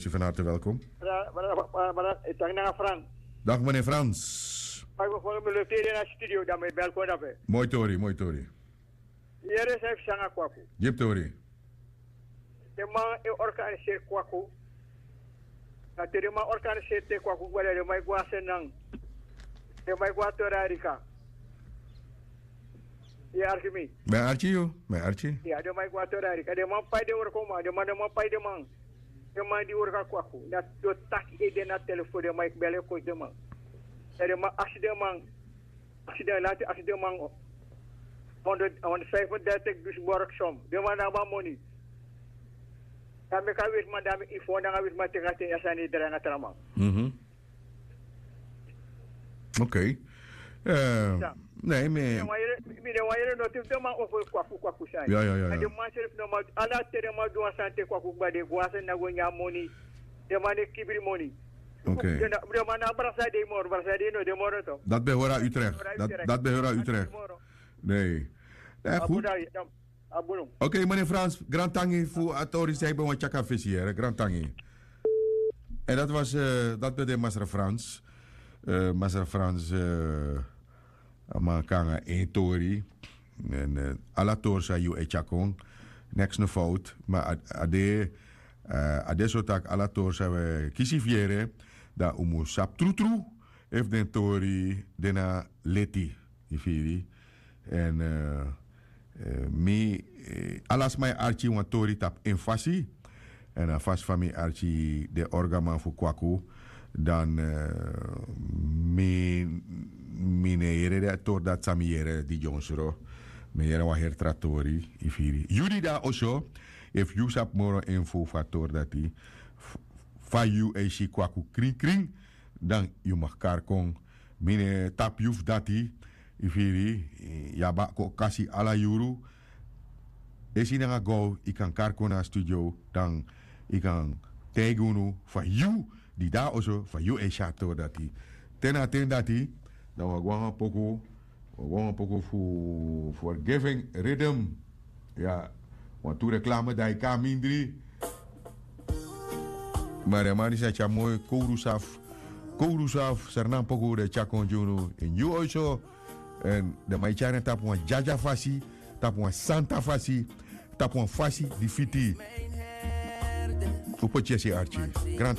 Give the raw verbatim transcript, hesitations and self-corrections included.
Si van harte welkom. Brada, brada, brada, brada, e taki nanga Frans. Dag meneer Frans. Mai go folo mi lo teri na studio dan mi belko dape. Moi tori, moi tori. Yere san e fu sanga kwaku. Gi mi tori. Den man e organiseri kwaku. Na te den man organiseri te kwaku gwe dan den man e go a senan. Den man e go a tori arika. Yu e arki mi? Mi e arki yu, mi e arki. Ya, den man e go a tori arika, den man pai den wroko man, den man den man pai den man. Den man di wroko a kwaku na, den o taki ede na telefon, den man e bel e kosi den man. Dan den man aksi den man, aksi den lanti aksi den man. Honderd honderd vijfendertig dus borg som den man na abi a moni. Dan meki a weti man dan mi info nanga weti man teki a ten ya sani e drai nanga tra man. Ok. Ne mi. Mi de wan yere no tifi den man ofo kwaku kwaku sani. Ya ya ya. Den man seri fu no man ala te den man du wan sani te kwaku kba den go a sani na go nyan moni. Den man e kibri moni. Ok. Den man na brasa dei moro brasa dei no den moro to. Dati ben hori a Utrecht. Dati ben hori a Utrecht. Nee. Nee goed. Ok, meneer Frans, grantangi fu a tori san yu ben wani tyari a fesi yere, grantangi. En dat was, dat ben de Masra Frans. Masra Frans, a man kon nanga en tori. En ala tori san yu e tyari kon, neks no fout. Ma a de, a de so tak' ala tori san wi e kisi fu yere, dan un mus sabi trutru efu den tori de na leti. Yu firi? En mi, ala sma e arki wan tori tapu en fasi. En a fasi fa mi arki den orgaman fu kwaku, dan mi, mi no e yere den tori dati san mi yere di dyonsro. Mi e yere wan heri tra tori. Yu firi? Yu di de na oso, efu yu sabi moro info fu a tori dati, fa yu e si kwaku krinkrin, dan yu mag kari kon. Mi no e tapu yu fu dati. Yu firi? Yu abi a kon kasi ala yuru. Esi nanga gow yu kan kari kon na a studio, dan yu kan taigi unu fa yu di de na oso fa yu e si a tori dati. Te na a ten dati, dan wi o go nanga poku, wi o go nanga poku fu forgiving riddim. Ya, wantu reklame dan yu kon na mindri. Ma den man disi e tyari moi kowru safu, kowru safu, sernanpoku den e tyari kon gi unu ini yu oiso. En den man e tyari en tapu wan dyadya fasi, tapu wan santa fasi, tapu wan fasi di fiti. Un poti yesi arki, grantangi.